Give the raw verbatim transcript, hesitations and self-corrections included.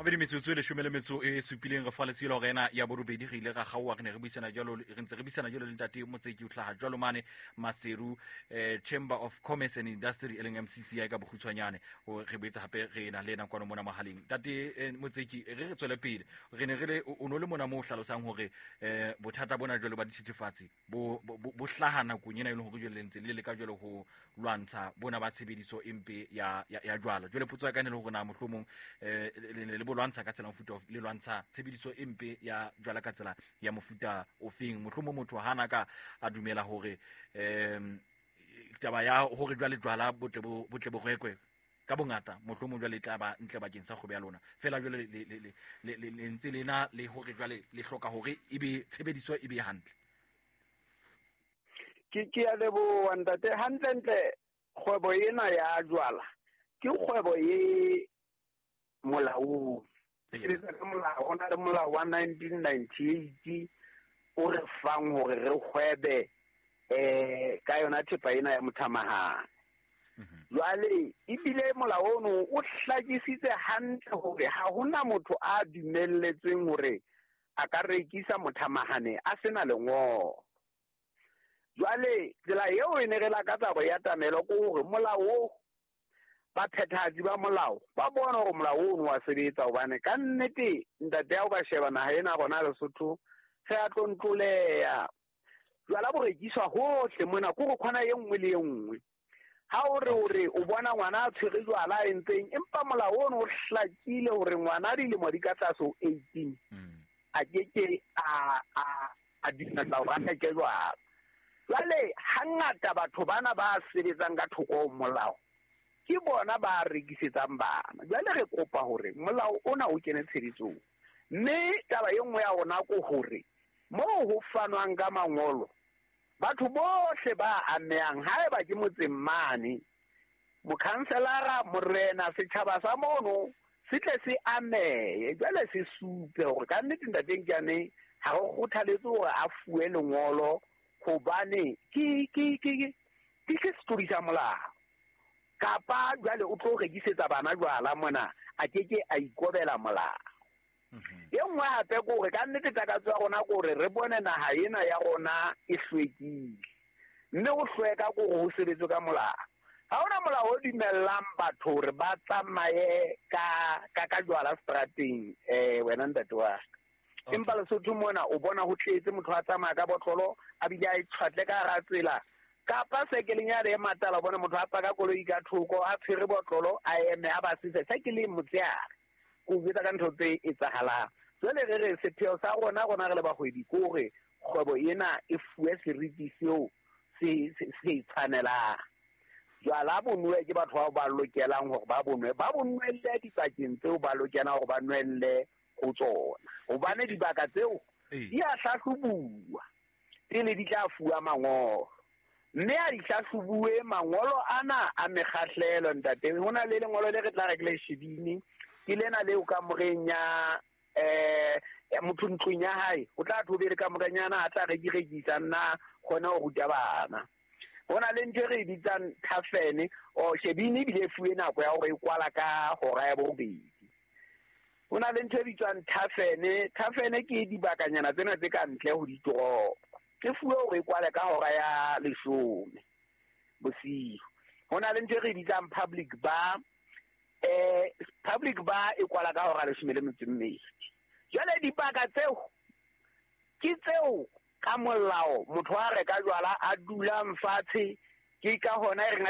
Mabedi metsotso e leshome le metso e supileng re fa letshilo hore ena ya borobedi re ile ra kgaoha re ne re buisana jwalo re ntse re buisana jwalo le ntate Motseki o hlaha jwalo mane Maseru eh, Chamber of Commerce and Industry e leng M C C I ka bokgutshwanyane o re boetse hape re na le ena kwano mona mohaleng. Ntate eh, Motseki re re tswele pele re ne re le o no le mona mo hlalosang hore eh, bothata bona jwalo ba dithethefatsi bo bo hlaha nakong ena e leng hore jwale le ntse le leka jwalo ho lwantsha bona ba tshebediso e mpe ya ya jwala. Jwale potso ya ka ne le hore na mohlomong eh le le lwantsha ka tsela mofuta le lwantsha tshebediso e mpe ya jwala ka tsela ya mofuta ofeng mohlomong motho hana ka a dumela hore em taba ya hore jwale jwala botle bo botle bo rekwe ka bongata mohlomong jwale tla ba ntle bakeng sa kgwebo ya lona fela jwale le le le le ntse lena le hore jwale le hloka hore e be tshebediso e be hantle. Ke ke ya leboha ntate. Hantle ntle kgwebo ena ya jwala ke kgwebo e molaong. Ke molao o na le molao wa nineteen ninety-eight o re fang hore re hwebe eh ka yona thepa ena ya mothamahane. Jwale ebile molao ono o hlakisitse hantle hore ha hona motho a dumelletsweng hore a ka rekisa mothamahane a sena lengolo. Jwale tsela eo e ne re lakatsa hore ya tamelo ke hore molao o ba phethahatsi ba molao ba bona hore molao ono wa sebetsa hobane ka nnete ntate ya o ka sheba naha ena rona Lesotho re a tlontloleha. Jwala bo rekiswa hohle mona ko re khona e nngwe le e nngwe. Ha o re o re o bona ngwana a tshwere jwala a entseng empa molao ono o hlakile hore ngwana dilemo di ka tlase ho eighteen a keke a a a dumella hore a reke jwala. Jwale hangata batho bana ba sebetsang ka thoko ho molao ke bona ba rekisetsang bana. Jwale re kopa hore molao ona o kene tshebetsong. Mme taba e nngwe ya rona ke hore moo ho fanwang ka mangolo batho bohle ba amehang haeba ke motseng mane mokhanselara morena setjhaba sa mono se tle se amehe jwale se supe hore ka nnete ntateng ke ane ha re kgothaletse hore a fuwe lengolo hobane ke ke ke ke ke setori sa molao. Kapa jwale o tlo rekisetsa bana jwala mona a keke a ikobela molao. E nngwe hape ke hore ka nnete takatso ya rona ke hore re bone naha ena ya rona e hlwekile. Mme ho hlweka ke hore ho sebetswe ka molao. Ha hona molao o dumellang batho hore ba tsamaye ka ka ka jwala strateng eh wena ntate wa ka. Empa Lesotho mona o bona ho tletse motho a tsamaya ka botlolo a bile a itshwatle ka hara tsela. Kapa sekeleng ya re matala bona motho a paka koloi ka thoko a tshwere botlolo a eme a ba sise sekeleng motseare ko botsa ka ntho tse etsahalang. Jwale re re sepheo sa rona rona re le bahwebi ke hore kgwebo ena e fuwe seriti seo se se tshwanelang. Jwala bo nwe ke batho bao ba lokelang hore ba bonwe ba bonwelle dipakeng tseo ba lokelang hore ba nwelle ho tsona hobane dibaka tseo di a hlahlobuwa pele di tla fuwa mangolo. Mme a di hlahlobuwe mangolo ana a mekgahlelo ntate. Ho na le lengolo le re tla re ke le shebile ke lena leo kamoreng ya eh motho ntlong ya hae o tla thobele kamoreng a tla re di rekisa nna kgone ho ruta bana. Ho na le ntho e re bitsang tafene o shebile ebile e fuwe nako ya hore e kwala ka hora ya borobedi. Ho na le ntho e bitswang tafene. Tafene ke dibakanyana tsena tse ka ntle ho ditoropo. Ke fuwe hore e kwale ka hora ya leshome bosiu. Ho na le ntho e re bitsang public bar. Eh public bar e kwala ka hora leshome le metso e mmedi. Jwale dibaka tseo ke tseo ka molao motho a reka jwala a dulang fatshe ke ka hona e reng